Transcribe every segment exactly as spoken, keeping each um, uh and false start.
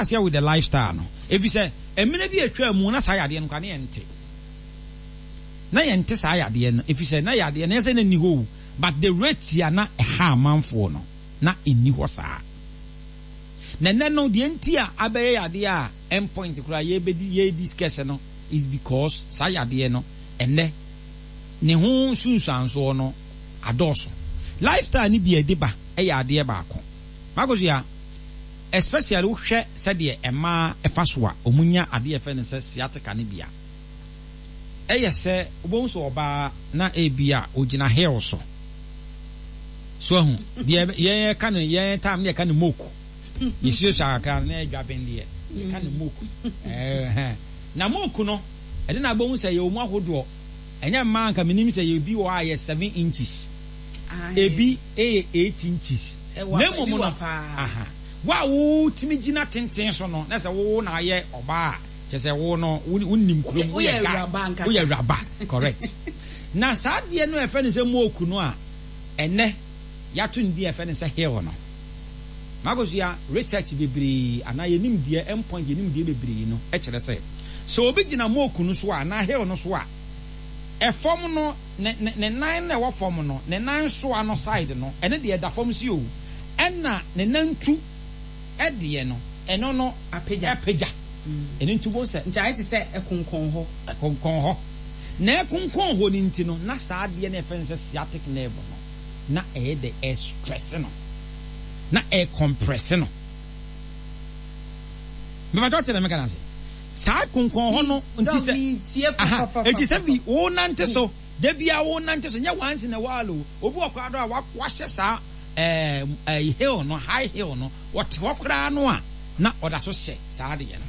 aseɛ with the lifestyle no, efi sɛ mmerɛ bi atwa mu na saa yadeɛ no kwa ne yɛnte na yɛnte saa yadeɛ no, efi sɛ na yadeɛ no yɛsɛ na nni hɔ o, but the rate a na ɛha amanfoɔ no na ɛnni hɔ saa. Na ɛnɛ no deɛ nti a abɛyɛ yadeɛ a endpoint koraa yɛbɛdi yɛ discuss no is because saa yadeɛ no, ɛnɛ ne ho nsunsuansoɔ no adɔɔso. Lifestyle ni bi a ɛde ba ɛyɛ adeɛ baako mako so ya, especially wohwɛ sɛdeɛ mmaa ɛfa so a ɔmo nya adeɛ ɛfɛ no sɛ sciatica ne bia, ɛyɛ sɛ wobɛhu sɛ ɔbaa na ebi a ogyina hill so so ahu deɛ yɛn ka no, yɛn time ne yɛka no moku, yɛsuasua kakra no na yɛdwa ben deɛ yɛka no moku. Ɛhɛn, na moku no ɛde na abɛhu sɛ yɛwɔ mu ahodoɔ. Ɛnyɛ mmaa nka menim sɛ yɛbi wɔ hɔ a yɛ seven inches, ebi ɛyɛ eight inches. Ɛwɔ Na apa- mmom ebi no wɔ paa. Aha, wo a wotumi gyina tenten so no na sɛ wo na ayɛ ɔbaa a kyerɛ sɛ wo no wo- wonim kurom. Woyɛ guy. Awuraba ankasa. Woyɛ awuraba, correct. Na saa adeɛ no a ɛfɛ no sɛ moku no a ɛnɛ yɛato ne din a ɛfɛ no sɛ heel no, Makosua, research bebree anaa yɛnim deɛ endpoint yɛnim deɛ bebree no ɛkyerɛ sɛ sɛ obi gyina moku no so a anaa heel no so a, ɛfam no ne ne ne nan na ɛwɔ fam no, ne nan soa no side no, ɛne deɛ ɛda fam si o, ɛna ne nan tu ɛdeɛ no, ɛno no apagya. Ɛpagya. Ɛno nti wɔn sɛ nti ayɛ te sɛ ɛkonkɔn hɔ. Ɛkonkɔn hɔ na ɛkonkɔn hɔ no nti no, na saa adeɛ no ɛfɛn sɛ sciatic nerve no na ɛyɛ de ɛstress no na ɛcompress no. Mbɛbàtɔ te na mɛka na se saa konkɔn hɔ no nti sɛ tie. Aha, eti sɛ bi wo nante so debia, wo nante so nyɛ once in a while o. Obi wɔ koraa do a wa- wahyɛ saa ɛɛ ɛɛ heel no, high heel no, wɔte hɔ koraa no a na ɔda so hyɛ saa adeɛ no.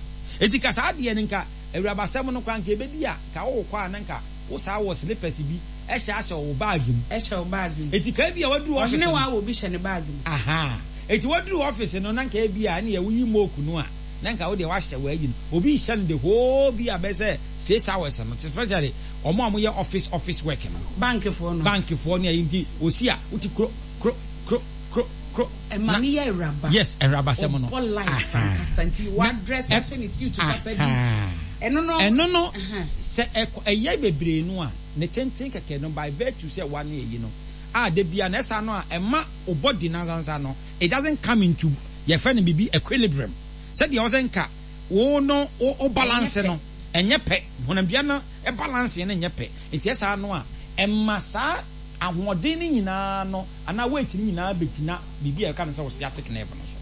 Eti ka saa adeɛ no nka awurabasɛm no koraa nka ebedi a nka wɔwɔ kɔ a na nka wo saa wɔ slippers bi ɛhyɛ ahyɛ wɔ bag mu. Ɛhyɛ wo bag mu. Eti ka ebi a waduru office ɔhene no wa wɔ bi hyɛ ne bag mu. Aha, eti waduru office no na nka ebi a ɛne yɛ woyi moku no a na nka wo deɛ wahyɛ wɔ no, obi hyɛ no the whole bi a bɛ sɛ six hours no, especially ɔmo a wɔyɛ office office work no. Bankfoɔ no. Bankfoɔ ne ayi, nti osi a wote kuro kuro kuro kuro kuro. Ɛma ne yɛ awuraba. Yes, awurabasɛm no. Ɔbɔ life Aha. ankasa nti wadress Na- ahyɛ ne suit papa bi. Aha. Ɛno no ɛno no Aha. sɛ ɛkɔ ɛyɛ bebree no a ne tenten kɛkɛ no by virtue sɛ wa ne ɛyi no a de bia na ɛsa no a ɛma o body nansansa no, it doesn't come into yɛfɛ no bibi equilibrium sɛdeɛ ɔsɛ nka wo no wo wo balance no ɛnyɛ pɛ, honamdua no balance no nyɛ pɛ. Nti ɛsaa no a ɛma saa ahoɔden no nyinaa no anaa weight no nyinaa bɛgyina biribi a yɛka no sɛ wo sciatic nerve no so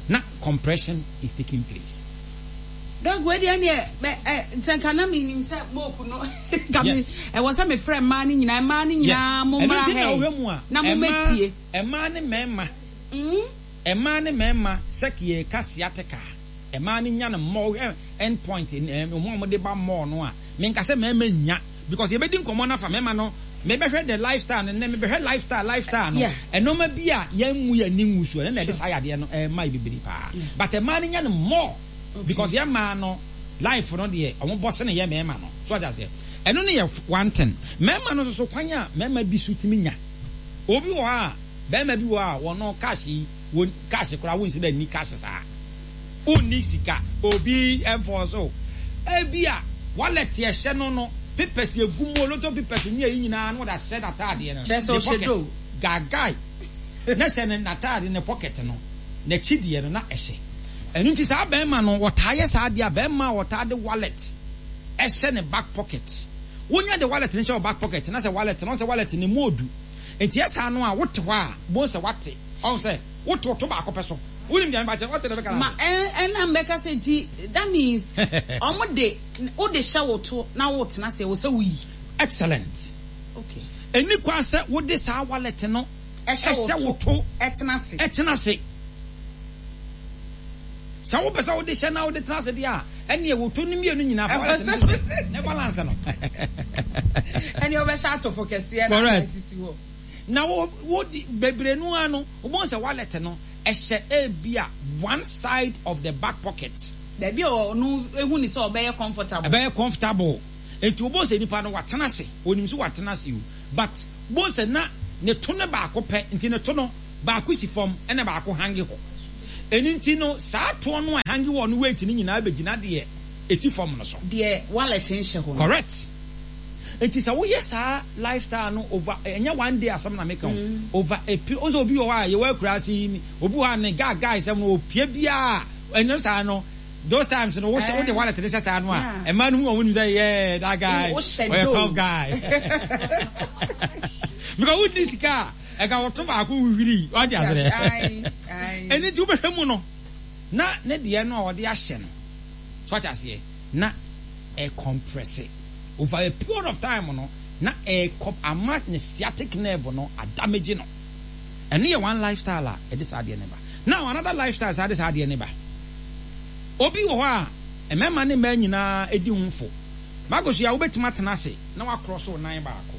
na compression is taking place. Doc, wei deɛ neɛ bɛ ɛ sɛ nka na menim sɛ moku no nka me Yes. ɛwɔ sɛ mefrɛ mmaa no nyinaa, mmaa no nyinaa mo Ɛno mmra nti na ha wohwɛ yi mu a na mommɛtie. Ɛmmaa ne mmarima Mm? Ɛmmaa ne mmarima sɛ yɛka sciatica, ɛmmaa no nya no mmɔ. Wohwɛ end point ɛ ɔmo a wɔde ba mɔɔ no a, menka sɛ mmarima nya because yɛbɛdi nkɔmmɔ no afa mmarima no. Mebɛhwɛ the lifestyle no nnɛ, mebɛhwɛ lifestyle lifestyle no Yeah. ɛnɔɔma bi a yɛn mu yɛn ni ngu so, ɛno na ɛde saa yadeɛ no ɛma yɛ bebree paa, but ɛmmaa no nya no more because yɛn mmaa no life no deɛ ɔmo bɔ sene yɛ mmarima no so ɔgya seɛ. Ɛno no yɛ one thing. Mmarima no nso so, kwan a mmarima bi so tumi nya, obi wɔ hɔ a bɛrima bi wɔ hɔ a wɔn cash yi, wɔn cash koraa wɔn nsi dɛ ni cash saa, wonni sika, obi ɛnfɔ so ebi a wallet ɛhyɛ no no papers egu mu, oloto papers ne eyi nyinaa no wɔde ahyɛ n'ataadeɛ no Kyerɛ sɛ ne ɔhyɛ pocket. Do. Gaagae na hyɛ ne n'ataade ne pocket no n'akyi deɛ no na ɛhyɛ. Ɛno nti saa bɛrima no wɔtaa yɛ saa adeɛ a bɛrima a wɔtaa de wallet ɛhyɛ ne back pocket, wonya de wallet ne hyɛ wɔ back pocket na sɛ wallet no sɛ wallet ne mu odu nti ɛsaa no a wote hɔ a bon sɛ wate ɔn sɛ wote ɔto baako pɛ so, wonim deɛ mepa kyerɛ, wote deɛ bɛka Ma ɛn ɛna mbɛka sɛ nti that means ɔmo de wode hyɛ wo to na wotena ase wɔ sɛ woyi. Excellent. Okay. Ɛni kwa sɛ wode saa wallet no ɛhyɛ ɛhyɛ wo to ɛtena ase. Ɛtena ase. Sɛ wopɛ sɛ wode hyɛ na wode tena ase deɛ a, ɛneɛ wo to no mmienu nyinaa fa wallet no hyɛ ne balance no. Ɛne ɔbɛhyɛ atɔfo kɛseɛ na Correct. asisi hɔ. Na wo wo di bebree no ara no, wobɛhu sɛ wallet no ɛhyɛ ebi a one side of the back pocket. Baabi a ɔno ehu ni sɛ ɔbɛyɛ comfortable. Ɛbɛyɛ comfortable nti wobɛhu sɛ nipa no watena ase, onim sɛ watena ase o, but wobɛhu sɛ na ne to no baako pɛ nti ne to no baako si fam ɛna baako hange hɔ. Ɛno nti no, saa toɔ no a hangi wɔ no, weight no nyinaa bɛgyina deɛ ɛsi fam no so. Deɛ wallet nhyɛ hɔ no. Correct. Nti sɛ woyɛ saa lifestyle no over, ɛnyɛ one day asɛm na meka o, over a period. Ɔsɛ obi wɔ hɔ a yɛwɔ akura ase yi, obi wɔ hɔ a ne guy guy sɛm no, opie biara ɛnyɛ saa no. Those times no, wohyɛ, wode wallet ne hyɛ saa no a, ɛmaa no hu wɔn nim sɛ, yeah, that guy ɔyɛ tough guy, because wodi sika a ɛka wɔto baako wuhwiri wate aserɛ. Ɛni nti wobɛhwɛ mu no na ne deɛ no a ɔde ahyɛ no so, wate aseɛ, na ɛcompress over a period of time no, na ɛkɔ ama ne sciatic nerve no adamage no. Ɛno yɛ one lifestyle a ɛde saa adeɛ ne ba. Now, another lifestyle saa de saa adeɛ ne ba, obi wɔ hɔ a mmarima ne mmaa nyinaa edi ho fo baako so yɛ a, wobɛtumi atena ase na wakorɔ so nan baako.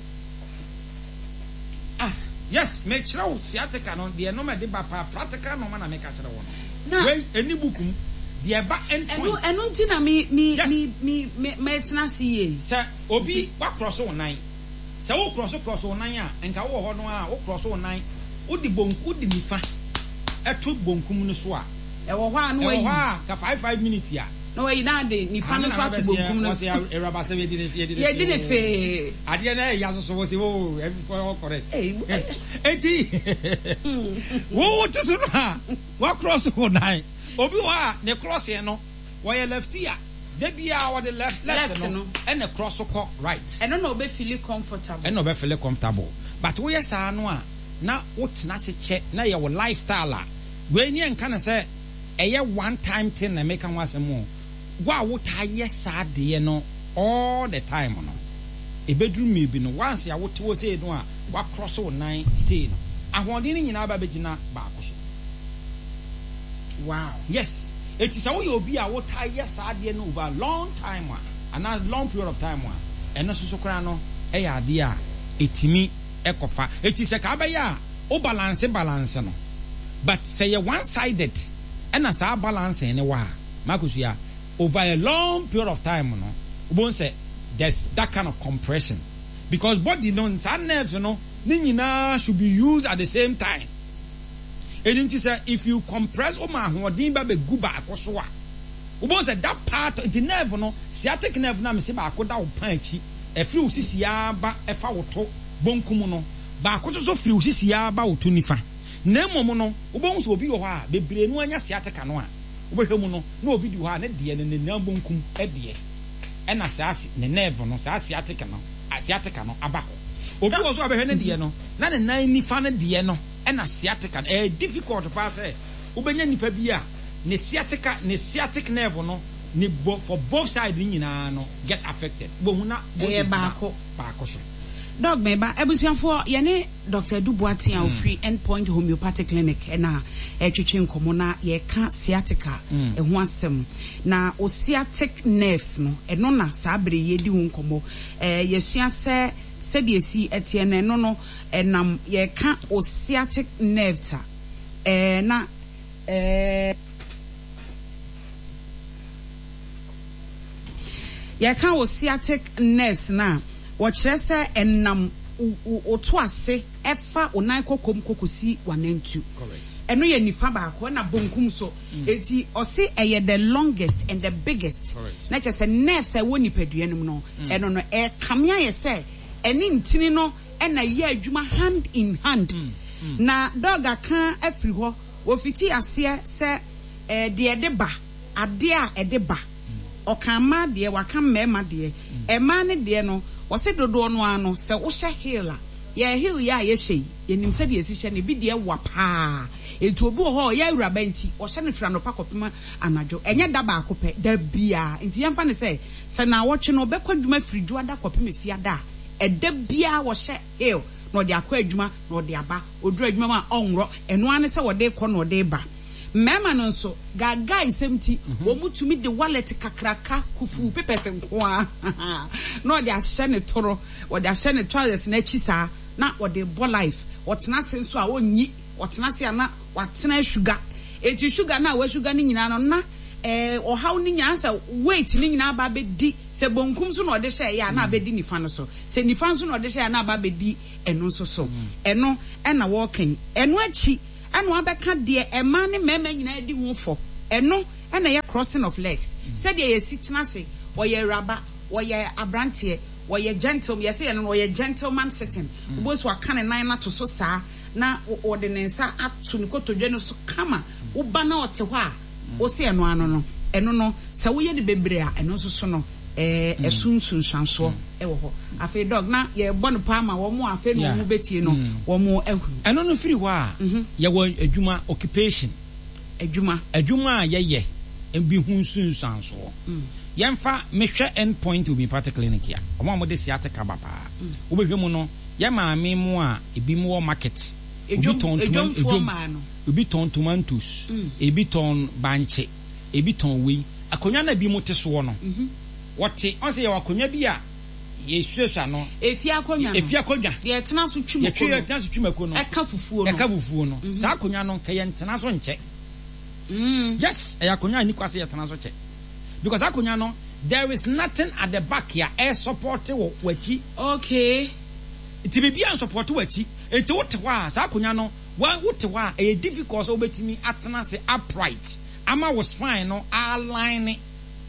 Ah. Yes, mekyerɛ wo sciatica no deɛ, nɔɔma de ba paa, practical nɔɔma na meka kyerɛ wo no. Wei ɛni book mu deɛ, ɛba end point. Ɛno ɛno nti na mi mi mi mi mi mɛtena ase yie. Sɛ obi wakorɔ so nan, sɛ wokorɔ so korɔ so nan a, nka wowɔ hɔ no a wokorɔ so nan, wode bonku, wode nifa ɛto bonkum no so a, ɛwɔ hɔ a na ɛwɔ wayi hɔ a ka five five minutes a, na wayi na ade nifa no nso ato bonkum no so. Wɔsi awuraba sɛ yɛdi ne yɛdi. Yɛdi ne fee. Adeɛ na ɛyɛ asoso, wɔ sɛ o ɛbi correct. Eti wo wo ti so no a wakorɔ so wɔ nan, obi wɔ a ne crossing no wɔyɛ lefty a, de bia wɔde left left no ɛna cross kɔ right. Ɛno na ɔbɛ feel comfortable. Ɛna ɔbɛ feel comfortable, but woyɛ saa no a na wotena ase kyɛ na yɛ wɔ lifestyle a, wei ni ɛnka no sɛ ɛyɛ one time thing na ɛmeka ho asɛm o. Wo a wotaa yɛ saa adeɛ no all the time no, ebeduru mmiri bi no, once a wote hɔ sei no a wakorɔ wo nan sei no, ahoɔden no nyinaa ba bɛgyina baako so. Wow. Yes, eti sɛ woyɛ obi a wotaa yɛ saa adeɛ no over long time a, anaa long period of time a, ɛno nso so koraa no ɛyɛ adeɛ a etimi ɛkɔfa. Eti sɛ kaa bɛyɛ a wo balance balance no, but sɛ yɛ one sided ɛna saa balancing ne wɔ a makosua over a long period of time no, wobɛhu sɛ there's that kind of compression, because body no, saa nerves no ne nyinaa should be used at the same time. Ɛno nti sɛ if you compress, woma ahoɔden ba bɛgu baako so a, wobɛhu sɛ that part, nti nerve no, sciatic nerve no a mese baako da wo pan akyi, ɛfiri wo sisiaa ba ɛfa wo to bonkum no, baako nso so firi wo sisiaa ba wo to nifa. Na mmom no, wobɛhu sɛ obi wɔ hɔ a bebree no anya sciatica no a, wobɛhwɛ mu no na obi di hɔ a ne deɛ no ne nan bonkum deɛ ɛna saa ne nerve no, saa sciatica no sciatica no aba hɔ. Obi wɔ so a bɛhwɛ ne deɛ no na ne nan nifa no deɛ no ɛna sciatica no. Ɛyɛ difficult paa sɛ wobɛnya nipa bi a ne sciatica, ne sciatic nerve no ne bo for both side ne nyinaa no get affected. Bohu na ɛyɛ baako. Baako so. Doc, meba. Abusuafoɔ, yɛne Doctor Edu Boateng a ofiri Endpoint Homeopathic Clinic ɛna ɛtwitwi nkɔmɔ na yɛka sciatica ɛho asɛm. Na o sciatic nerves no, ɛno na saa bere yɛdi ho nkɔmɔ. ɛɛ yɛsua sɛ sɛdeɛ esi ɛteɛ no, ɛno no ɛnam yɛka o sciatic nerves a ɛɛ na ɛɛ yɛka o sciatic nerves na wɔkyerɛ sɛ ɛnam woto ase ɛfa wo nan kɔkɔm kɔkɔsi w'anantu. Ɛno yɛ nifa baako, ɛna bonkum so. Eti ɔse ɛyɛ the longest and the biggest. Na kyerɛ sɛ nerves a ɛwɔ nipadua no mu no, ɛno no ɛkame ayɛ sɛ ɛne ntini no ɛna ɛyɛ adwuma hand in hand. Na Doc aka afiri hɔ, wɔfiti aseɛ sɛ ɛɛ deɛ ɛde ba, adeɛ a ɛde ba. Ɔka mmaa deɛ, waka mmarima deɛ. Mmaa ne deɛ no, wɔsi dodoɔ no ano sɛ wohyɛ heel a, yɛ heel yɛ a yɛhyɛ yi, yɛnim sɛdeɛ yɛsi hyɛ no, ebi deɛ wa paa. Etu obi wɔ hɔ a ɔyɛ awuraba nti ɔhyɛ no firi anɔpa kɔpem anadwo, ɛnyɛ da baako pɛ, da biara. Nti yɛmfa ne sɛ sɛ naawɔtwe no ɔbɛkɔ adwuma firi Dwoada kɔpem Efiada a, ɛda biara wɔhyɛ heel na ɔde akɔ adwuma na ɔde aba. Oduru adwuma mu a, ɔnworɔ. Ɛno ara ne sɛ wɔde kɔ na ɔde ba. Mmarima no nso, gaagaa nsɛm ti, wɔn mu tumi de wallet kakraka kufu papers nko ara na ɔde ahyɛ ne toro, wɔde ahyɛ ne trousers n'akyi saa na wɔde bɔ life. Wɔtena ase nso a ɔnyi, wɔtena ase a na watena sugar. Eti sugar na wa sugar no nyinaa no na ɛɛ ɔhaw no nyinaa sɛ weight no nyinaa ba abɛdi sɛ bonkum so na ɔde hyɛ ɛyɛ a na abɛdi nifa no so, sɛ nifa nso na ɔde hyɛ a na aba abɛdi ɛno nso so. Ɛno ɛna wɔɔkɛn. Ɛno akyi Ɛna wabɛka deɛ ɛmaa ne mmarima nyinaa di ho fɔ. Ɛno ɛna ɛyɛ crossing of legs. Sɛdeɛ yɛsi tena ase, wɔyɛ awuraba, wɔyɛ aberanteɛ, wɔyɛ gentleman, yɛsɛ yɛn no wɔyɛ gentleman sitting. Wobɔ so aka ne nan ato so saa na wɔde ne nsa ato ne kotodwe no so kama. Woba na ɔte hɔ a, wosi ɛno ano no, ɛno no sɛ woyɛ no bebree a, ɛno nso so no ɛɛ ɛso nsunsuansoɔ ɛwɔ hɔ. Afei, Doc, na yɛbɔ no paa ma wɔn a afei na wɔn bɛtie no, wɔn ahu. Ɛno no firi hɔ a, yɛwɔ adwuma, occupation. Adwuma. Adwuma a yɛyɛ bi ho nsunsuansoɔ. Yɛmfa mehwɛ End Point Homeopathic Clinic a ɔmo a wɔde sciatica ba paa, wobɛhwɛ mu no, yɛ maame mu a ebi mu wɔ market, obi tɔn toma, obi tɔn tomatoes, ebi tɔn bankye, ebi tɔn wei. Akonnwa na ebi mu te soɔ no, wɔte ɔn sɛ yɛwɔ akonnwa bi a yɛsuasua no. Efi akonnwa no. Efi akonnwa. Deɛ ɛtena so twi mako no. Yɛtwi ɛtena so twi mako no. Ɛka fufuo no. Ɛka fufuo no. Saa akonnwa no nka yɛntena so nkyɛ. Yes, ɛyɛ akonnwa a ni kwa sɛ yɛtena so kyɛ, because akonnwa no, there is nothing at the back a ɛ support wɔ w'akyi. Okay. Nti biribi a support w'akyi, nti wote hɔ a, saa akonnwa no wa wote hɔ a, ɛyɛ difficult sɛ wobɛtumi atena ase upright ama wo spine no align.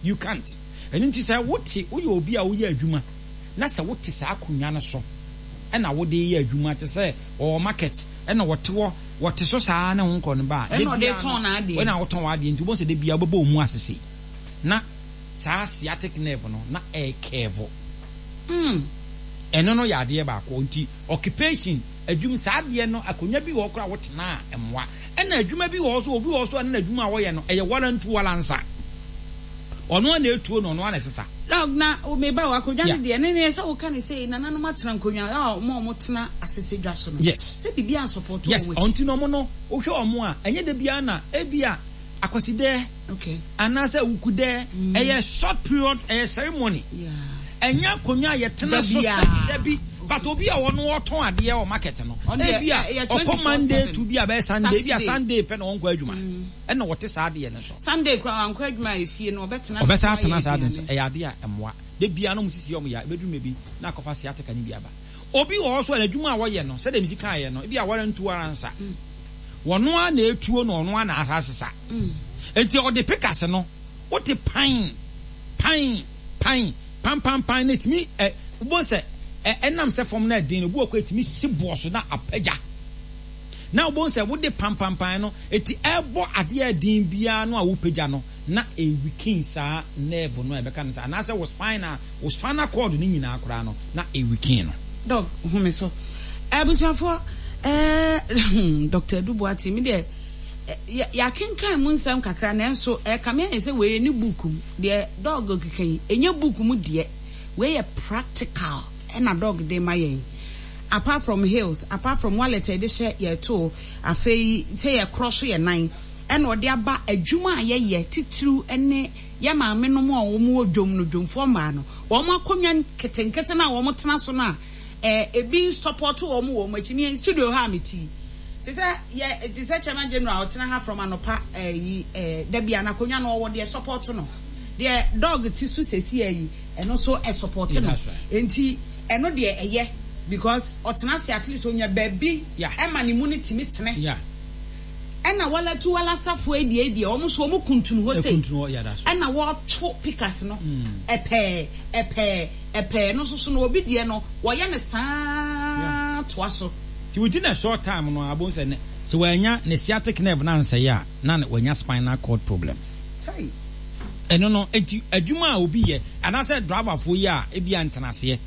You can't. Ɛno nti sɛ wote, woyɛ obi a woyɛ adwuma na sɛ wote saa akonnwa no so ɛna wode yɛ adwuma, te sɛ ɔwɔ market ɛna wɔte hɔ, wɔte so saa ne ho nkɔ no ba a, ɛna ɔde tɔn n'adeɛ. Ɛna wotɔn w'adeɛ, nti wobɛhu sɛ de bia wobɛbɔ wo mu asese na saa sciatic nerve no na ɛɛkɛɛvo. Mm. Ɛno no yɛ adeɛ baako. Nti occupation, adwum, saa adeɛ no, akonnwa bi wɔ hɔ koraa wotena a mmoa. Ɛna adwuma bi wɔ hɔ so, obi wɔ hɔ so a ne n'adwuma a wɔyɛ no ɛyɛ walantu walansa, ɔno a na etuo no, ɔno a na ɛsesa. Doc, na meba wɔ akonnwa no deɛ ne ne sɛ woka ne sɛ nananom atena nkonnwa a ɔmo a ɔmo tena asese dwa so no. Yes. Sɛ biribi ansupporto yes wɔn akyi. Ɔnti na ɔmo no, wohwɛ ɔmo a, ɛnyɛ de bia na ebi a akwasidɛ okay anaasɛ awukudɛ, ɛyɛ short period, ɛyɛ ceremony. Yeah. Ɛnyɛ akonnwa a yɛtena so sɛ dabi, but obi a ɔno ɔtɔn adeɛ wɔ market no, Ɔno deɛ, ebi a ɛyɛ ɔkɔ Monday twenty-four seven. To bi a bɛyɛ Sunday, ebi a Saturday. Sunday pɛ na ɔnkɔ adwuma, ɛna wɔte saa adeɛ no so. Sunday koraa wankɔ adwuma a, efie no ɔbɛtena. Ɔbɛsa no atena ayɛ saa ade no so. aduane. Ɛyɛ adeɛ a ɛmmoa. De bia no mo sisi ɔmo yɛ, ebɛduru mɛ bi na akɔfa sciatica ne bi aba. Obi wɔ hɔ so a n'adwuma a wɔyɛ no, sɛdeɛ mesi kaeɛ no, ebi a wɔrentu ara nsa, wɔno a na etuo na ɔno a na asa asesa, nti ɔde pickaxe no wote pan pan pan pan pan pan na etumi ɛ wobɔ sɛ ɛ ɛnam sɛ fam na ɛden no, obi wɔ kɔ etumi si boɔ so na apagya na wobɔ sɛ wode pan pan pan no, eti ɛbɔ adeɛ ɛden biara no a wopagya no na eweaken saa nerve no a ɛbɛka no sɛ anaasɛ wo spine a wo spinal cord no nyinaa koraa no na eweaken no. Doc, home so. Abusuafoɔ, ɛɛ Doctor Edu Boateng, mi deɛ yɛakenkan mu nsɛm kakra, nanso ɛka me ayɛ sɛ wei ne book mu deɛ Doc keka yi, ɛnyɛ book mu deɛ. Wei yɛ practical ɛna Doc de ma yɛn. Apart from heels, apart from wallet a yɛde hyɛ yɛto, afei sɛ yɛkorɔ so yɛ nan, ɛna ɔde aba adwuma a yɛyɛ titiriw ne yɛ maame nom a wɔn wɔ dwom no, dwomfoɔ mmaa no, wɔn akonnwa nketenkete no a wɔn tena so no a ɛɛ ebi support wɔn wɔ wɔn akyi. Mi studio ha a mi ti te sɛ yɛ te sɛ chairman general, ɔtena ha from anɔpa ɛyi ɛɛ dabi a n'akonnwa no ɔwɔ deɛ support no. Deɛ Doc ti so sɛsi ɛyi, ɛno nso ɛsupport no. Yeah, that's right. Nti ɛno deɛ ɛyɛ because ɔtena ase, at least onya baabi Yeah. ɛma ne mu ne timi tene. Yeah. Ɛna walatu walasafoɔ yi deɛ deɛ wɔn nso wɔn kuntunu hɔ sei. Ɛkuntunu hɔ, yeah, that's right. Ɛna wɔto pickaxe no ɛpɛɛ ɛpɛɛ ɛpɛɛ no nso so no, obi deɛ no wɔyɛ ne saa toa so. Nti within a short time no, abo sɛ ne sɛ wanya ne sciatic nerve na nsɛe a, na ne wanya spinal cord problem. Kai. Ɛno no nti adwuma a obi yɛ anaasɛ driverfoɔ yi a ebi a ntena aseɛ,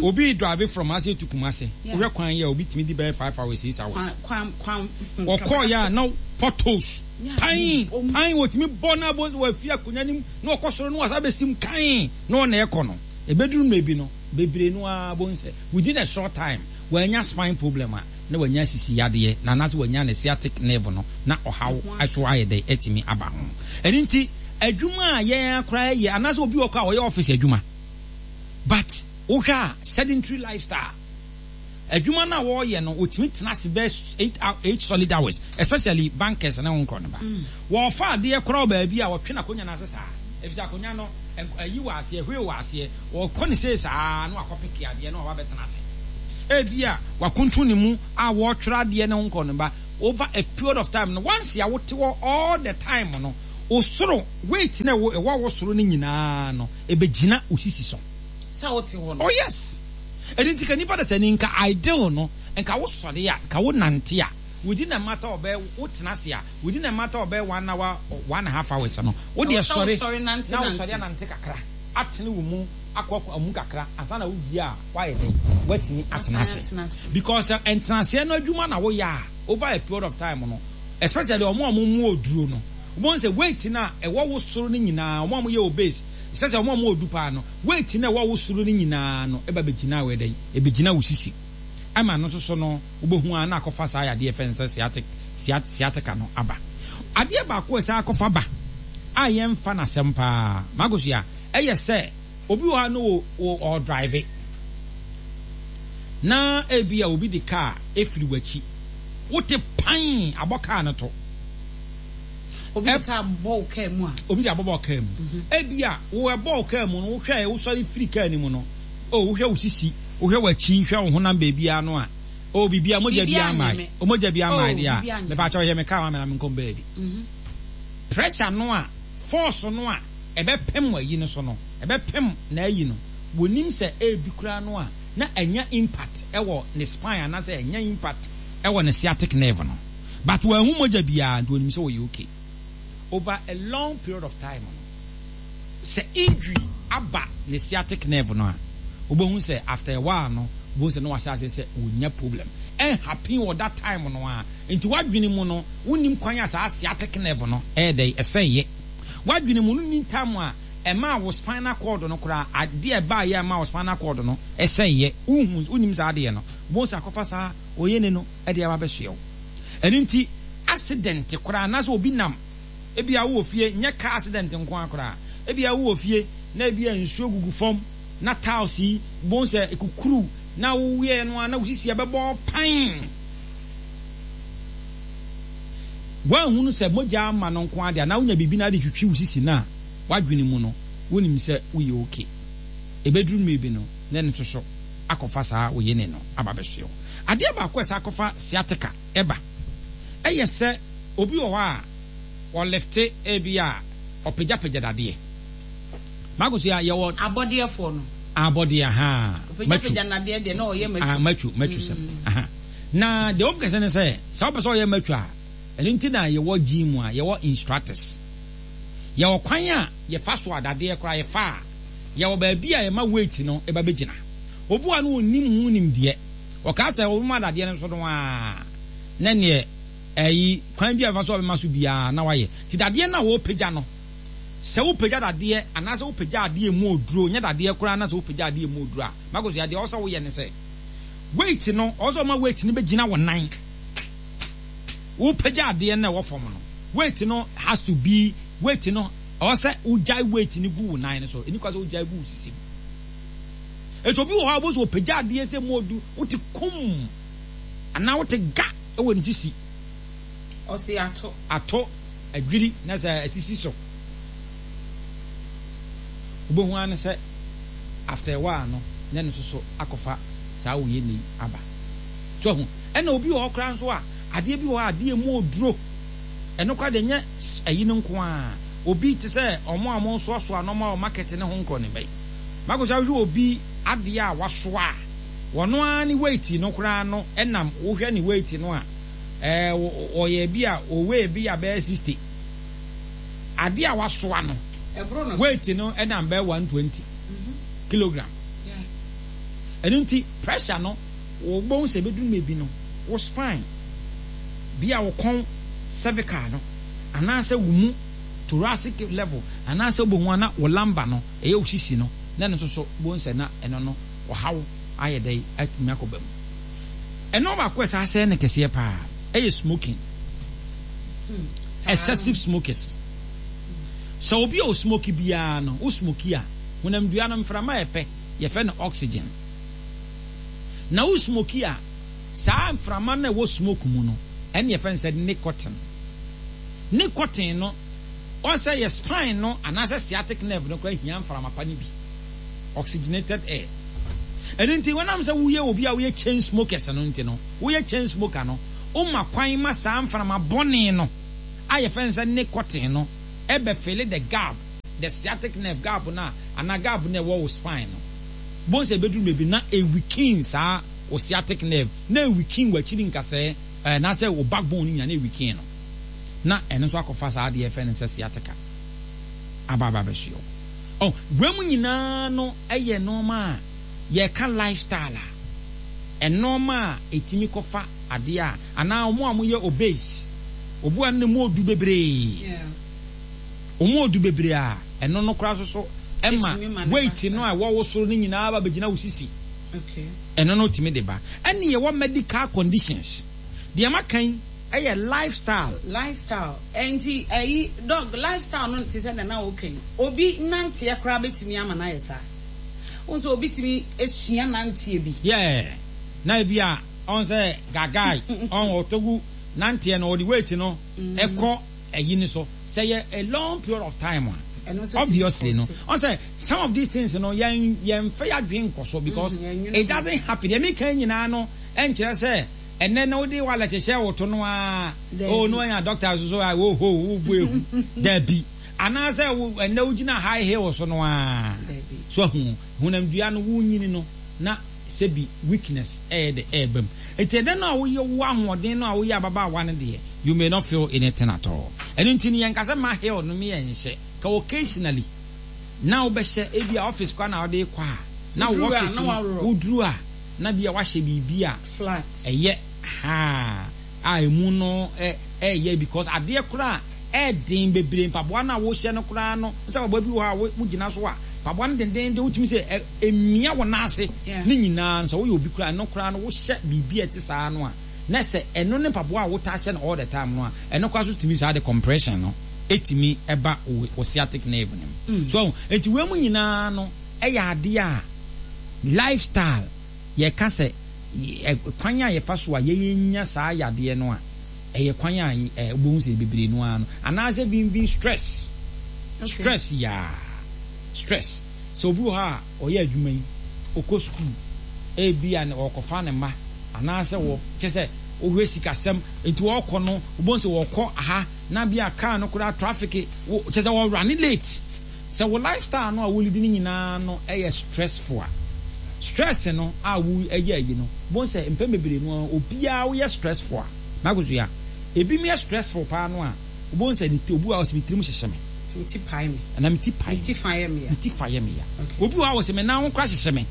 obi drive from ase to Kumase. Yeah. Wohwɛ kwan yi a, obi tumi di bɛyɛ five hours, six hours. Kwan kwan kwan. Ɔkɔɔ yɛ a na potholes Yeah. pan Om- pan, wɔtumi bɔ na abo sɛ wafi akonnwa nim na ɔkɔ soro na wasa bɛsim kan na ɔna ɛkɔ no, ebɛduru mmerɛ bi no, bebree no ara bo nsɛ within a short time wanya spine problem a na wanya sisi yadeɛ na anaasɛ wanya ne sciatic nerve no na ɔhaw ɛso ayɛ dɛ ɛtumi aba ho. Ɛno nti adwuma a yɛn akora yɛ anaasɛ obi wɔ kɔ a ɔyɛ office adwuma, but wohwɛ a sedentary lifestyle, adwuma no a wɔreyɛ no, wɔtumi tena ase bɛɛ eight hou- eight solid hours, especially bankers ne ho nkorɔ no ba, wɔfa adeɛ koraa wɔ baabi a wɔtwe n'akonnwa no ase saa, efisɛ akonnwa no nk- ayi wɔ aseɛ, hwee wɔ aseɛ, wɔkɔ ne sei saa na wakɔ pick adeɛ na wɔba bɛtena ase. Ebi a wakuntun ne mu a wɔretwerɛ adeɛ ne ho nkorɔ no ba, Over a period of time no, once a wote hɔ all the time no, wo soro weight na ɛwɔ ɛwɔ wo soro no nyinaa no, ɛbɛgyina wo sisi so. Sɛ wote hɔ no. Oh yes. Ɛno nti ka nipa da sɛ ni nka ideal no, nka wo sɔre a, nka wo nante a, within a matter of bɛyɛ, wo tena ase a, within a matter of bɛyɛ one hour or one and a half hours no, wo deɛ Ɛwɔ sɛ sɔre wosɔre nante na wo nante. Sɔre anante kakra, atene wo mu akɔ akɔ mu kakra ansa na wo wie a, woayɛ dɛn, woatumi atena Wasan ase. atena ase. Because ntenaseɛ no adwuma na woyɛ a, over a period of time no, especially ɔmo a ɔmo mu oduro no, wɔn sɛ weight na ɛwɔ wo soro no nyinaa, ɔmo a ɔmo yɛ obese, sɛ sɛ ɔmo a ɔmo odu paa no, weight na ɛwɔ wo soro no nyinaa no ɛba bɛgyina wɔ ɛdɛn, ɛbɛgyina wo sisi ama no nso so no, wobɛhu a na akɔfa saa yadeɛ fɛn sɛ sciatic sciatica no aba. Adeɛ baako a ɛsɛ akɔfa ba a yɛmfa n'asɛm paa, Magosia, ɛyɛ sɛ obi wɔ ha no wɔ ɔdrive na ebi a obi de kaa efiri w'akyi, wote pan abɔ kaa no to. Obi de kaa bɔ wo kaa mu a. Obi de abɔbɔ kaa mu. Ebi a wo ɛbɔ kaa mu no, wohwɛ, wosɔre firi kaa no mu no, o wohwɛ wo sisi, wohwɛ w'akyi, hwɛ wo honam baabiara no a, o biribiara mogya bi Biribiara ama nyɛ me. O mogya bi ama. Oh, deɛ a biribiara nyɛ me. Mepa kyɛw, yɛ me kaa ma me na menkɔ baabi. Pressure no a, force no a ɛbɛpem ayi no so no, ɛbɛpem na ayi no, wɔnim sɛ ebi koraa no a na ɛnya impact ɛwɔ ne spine anaasɛ ɛnya impact ɛwɔ ne sciatic nerve no, but wɔahu mogya biara nti wɔnim sɛ wɔyɛ okay. Over a long period of time no, sɛ injury aba ne sciatic nerve no a, wobɛhu sɛ after a while no, wobɛhu sɛ na wahyɛ ase sɛ wɔnya problem. Ɛnhappen wɔ that time no a, nti wadwene mu no, wonim kwan a saa sciatic nerve no ɛyɛ dɛ ɛsɛn yɛ. Wadwene mu no, nim time a ɛma wo spinal cord no koraa, adeɛ ɛbaa yɛ ɛma wo spinal cord no ɛsɛn yɛ. Wohu, wonim saa adeɛ no, wobɛhu sɛ akɔfa saa oyɛ ne no ɛde aba bɛsoɛ wo. Ɛno nti accident koraa anaasɛ obi nam, ebi a wowɔ fie, nyɛ car accident nko ara koraa, ebi a wowɔ fie na ebi a nsuo gugu fam na tiles yi wobɛhu sɛ ekukuru na woyɛ no a na wosisi ɛbɛbɔ pan. Woahunu sɛ mogya ama no nko adeɛ anaa wonya biribi na ade twitwi wo sisi no a, wadwene mu no wonim sɛ woyɛ okay. Ɛbɛduru mmerɛ bi no, na ɛno nso so akɔfa saa oyene no aba bɛsoɛ wo. Adeɛ baako a ɛsɛ akɔfa sciatica ɛba ɛyɛ sɛ obi wɔ hɔ a ɔlift, ebi a ɔpagyapagya dadeɛ. Makoso a yɛwɔ Abɔdeɛfoɔ no. Abɔdeɛ ha. Ɔpagyapagya nadeɛ deɛ na ɔyɛ matwu. Ah, matwu matwu sɛm aha. Na deɛ wɔn kɛse ne sɛ sɛ wopɛ sɛ ɔyɛ matwu a, ɛno nti na yɛwɔ gym a yɛwɔ instructors. Yɛwɔ kwan a yɛfa so a dadeɛ koraa yɛfa a, yɛwɔ baabi a yɛma weight no ɛba bɛgyina. Obi wa no onim ho nimdeɛ, ɔkaa sɛ ɔbɛma dadeɛ no so no a, na neɛ ɛyi kwan bi a yɛfa so a ɔbɛma so biara na wayɛ. Ti dadeɛ no a wɔpagya no, sɛ wopagya dadeɛ anaasɛ wopagya adeɛ mu oduro, nyɛ dadeɛ koraa, na sɛ wopagya adeɛ mu oduro a, mako so adeɛ ɔsɛ woyɛ ne sɛ weight no, ɔsɛ ɔma weight no bɛgyina wɔ nan. Wopagya adeɛ no a ɛwɔ fam no, weight no has to be, weight no ɔsɛ wogyae weight no gu wo nan no so. Ɛni kwa sɛ wogyae gu wo sisi mu. Etu obi wɔ hɔ a wobɛsɛ wɔpagya adeɛ sɛ mu odu, wote kum anaa wote ga ɛwɔ ne sisi. Ɔsi ato. Ato adwiri na sɛ asisi so, wobɛhu ara ne sɛ after a while no, na ɛno nso so akɔfa saa woyɛ ne yi aba so ahu. Ɛna obi wɔ hɔ koraa nso a, adeɛ bi wɔ hɔ a, adeɛ mu oduro, ɛno koraa deɛ nyɛ ayi no nko ara. Obi te sɛ ɔmo a ɔmo soasoa nneɛma wɔ market ne ho nkorɔ ne bɛyi mako sɛ wohwɛ obi adeɛ a wasoa a, wɔno ara ne weight no koraa no, ɛnam wohwɛ ne weight no a, ɛɛ ɔyɛ bi a ɔweigh bi a bɛyɛ sixty, adeɛ a wasoa no Ɛboro no so. Weight no ɛnam bɛyɛ one twenty kilogram. Ɛno nti pressure no, wɔbɛhu sɛ ɛbɛduru mmerɛ bi no, wo spine bi a wo kɔn, cervical no, anaasɛ wo mu thoracic level, anaasɛ wobɛhu ana wo lumbar no, ɛyɛ wo sisi no, na ɛno nso so wobɛhu sɛ na ɛno no ɔhaw ayɛ dɛ atumi akɔba mu. Ɛno baako a ɛsɛ asɛe no kɛseɛ paa ɛyɛ smoking, excessive smokers. Sɛ obi a osmoke biara no, wo smoke a, honamdua no mframa a ɛpɛ yɛfɛ no oxygen, na wo smoke a, saa mframa no a ɛwɔ smoke mu no, ɛne yɛfɛ no sɛ nicotine. Nicotine no, ɔsɛ yɛ spine no anaasɛ sciatic nerve no koraa hia mframa pa no bi, oxygenated air. Ɛno nti wɔnam sɛ woyɛ obi a woyɛ chain smokers no nti no, woyɛ chain smoker no, Woma kwan ma saa mframa bɔne no a yɛfrɛ no sɛ nicotine no ɛbɛ fill the gap, the sciatic nerve gap no a, anaa gap no a ɛwɔ wo spine no. Bohu sɛ ɛbɛduru baabi na ɛweaken saa wo sciatic nerve, na ɛweaken w'akyiri nkasɛɛ anaasɛ wo backbone no nyinaa na ɛweaken no. Na ɛno nso akɔfa saa adeɛ yɛfrɛ no sɛ sciatica aba aba abɛsoɛ wo. Oh, wei mu nyinaa no yɛ nneɛma a yɛka lifestyle a, nneɛma a ɛtumi kɔfa adeɛ a, anaa wɔn a wɔyɛ obese, obi a ne mu odu bebree, wɔn odu bebree a, ɛno no koraa nso so ɛma weight no a ɛwɔ wo soro no nyinaa ba bɛgyina wo sisi. Ɛno no tumi de ba. Ɛne yɛwɔ medical conditions. Deɛ maka yi ɛyɛ lifestyle. Lifestyle. Ɛnti ɛyi doc, lifestyle no te sɛ nana woka yi. Obi nanteɛ koraa bɛtumi ama no ayɛ saa. Wo nso obi tumi esua nanteɛ bi. Yeah. Na ebi a ɔn sɛ gagae ɔn ɔtogu nanteɛ no, ɔde weight no ɛkɔ ɛyi ni so sɛ yɛ a long period of time a, obviously no ɔn sɛ some of these things no yɛn yɛn fɛ yɛ adwene nkɔ so because it doesn't happen. Deɛ mi kan nyinaa no ɛnkyerɛ sɛ ɛnɛ na wode wallet hyɛ wo to no a, oh no, anya doctor so so a wo ho wo bu ehu dabi, anaasɛ wo ɛnɛ wogyina high heel so no a so ahu honamdua no wo nyini no na sɛbi weakness ɛyɛ de ɛɛba mu. Nti ɛdɛ no a woyɛ wo ahoɔden no a woyɛ ababaawa no deɛ, you may not feel anything at all. Ɛno nti no yɛnka sɛ ma heel no mi yɛ nhyɛ ka occasionally na wobɛhyɛ ebi a office kwa na wode kɔ a na wo office no woduru a na bi a wahyɛ biribi a flat ɛyɛ ha a emu no ɛyɛ, because adeɛ koraa ɛɛden bebree, mpaboa no a wohyɛ no koraa no sɛ mpaboa bi wɔ hɔ a wogyina so a mpaboa no dendenden wotumi sɛ emia wɔ n'ase ne nyinaa no, sɛ woyɛ obi koraa no koraa no wohyɛ biribi a ɛte saa no a, na sɛ ɛno ne mpaboa a wotaa hyɛ no all the time no a, ɛno koraa so tumi saa de compression no etumi ɛba wo sciatic nerve no mu so. Eti wɔn mu nyinaa no ɛyɛ adeɛ a lifestyle yɛka sɛ kwan a yɛfa so a yɛyɛ saa yadeɛ no a, ɛyɛ kwan a ɛ wobɛhu sɛ bebree no ara no, anaasɛ vinvin stress, stress yaa stress. Sɛ obi wɔ hɔ a ɔyɛ adwuma yi, ɔkɔ sukuu, ebi a ɔkɔfa ne mma anaasɛ wɔ kyɛ sɛ wohwɛ sikasɛm nti wɔkɔ no, wobɛhu sɛ wɔkɔ aha na bi a car no koraa traffic kyɛ sɛ wɔrun late. Sɛ wo lifestyle no a wolidi no nyinaa no ɛyɛ stressful a, stress no a wo ɛyɛ ayi no bon sɛ mpɛn bebree no, obiara woyɛ stressful a makoso ya ebi mu yɛ stressful paa no a, wobɛhu sɛ ne ti, obi wɔ hɔ a ɔsɛ me tirim hyehyɛ me. Me ti pae me. Ɛna me ti pae. Me ti fa yɛ me ya. Me ti fa yɛ me ya. Obi wɔ hɔ a wɔsɛ me nan ho kora hyehyɛ me.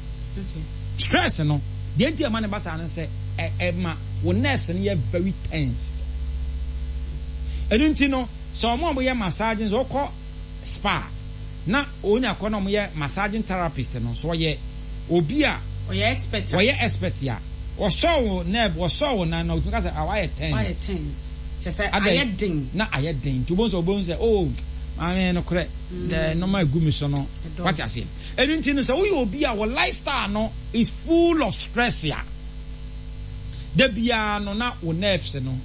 Stress no deɛ nti ɛma ne ba saa no sɛ ɛ ɛma wo nerves no yɛ very tensed. Ɛno nti no sɛ ɔmo a wɔyɛ massaging, sɛ ɔkɔ spa na onya kɔ na ɔmo yɛ massaging therapist no so, ɔyɛ obi a ɔyɛ expert. Ɔyɛ expert a ɔsɔ wo nerve, ɔsɔ wo nan na ɔtumi ka sɛ ah, wayɛ tense. Wayɛ tense kyɛ sɛ ayɛ den. Na ayɛ den nti wobɛhu sɛ wobɛhu sɛ oh, maame no korɛ dɛ nneɛma egu mi so no, wate aseɛ. Ɛno nti no sɛ woyɛ obi a wɔ lifestyle no is full of stress a, da biara no na wo nerves no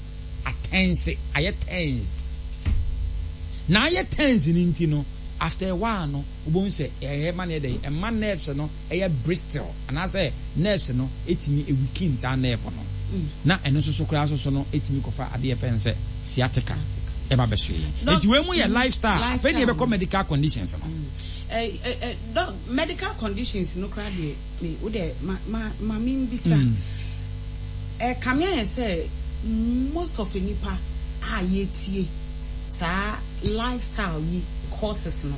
atense, ayɛ tensed, na ayɛ tense no nti no after a while no wobɛhu sɛ ɛyɛ ma no yɛ dɛ ɛma nerves no ɛyɛ brittle anaasɛ nerves no ɛtumi ɛweaken saa nerve no, na ɛno nso so koraa nso so no ɛtumi kɔfa adeɛ fɛn sɛ sciatica ɛba bɛso yɛn. Nti wei mu yɛ lifestyle. Afei deɛ yɛbɛkɔ medical conditions no. Eh, eh, eh, doc, medical conditions no koraa deɛ, me wo deɛ ma ma ma me mbisa. Ɛ kame ayɛ sɛ most of nipa a yɛtie saa lifestyle yi causes no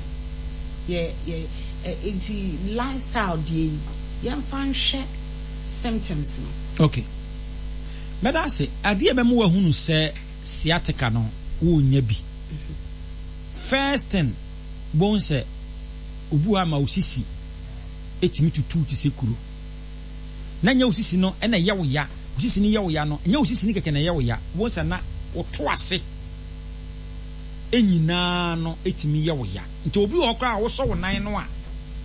yɛ yɛ ɛ nti lifestyle deɛ yi yɛmfa nhwɛ symptoms no. Okay, mɛda ase. Adeɛ bɛma wahunu sɛ sciatica no wonya bi, first thing bohu sɛ obi wɔ hɔ ama wo sisi ɛtumi tutu te sɛ kuro, na nyɛ wo sisi no ɛna ɛyɛ wo ya. Wo sisi no yɛ wo ya no, nyɛ wo sisi no kɛkɛ na ɛyɛ wo ya. Bohu sɛ na woto ase ɛnyinaa no ɛtumi yɛ wo ya. Nti obi wɔ hɔ koraa a wosɔ wo nan no a,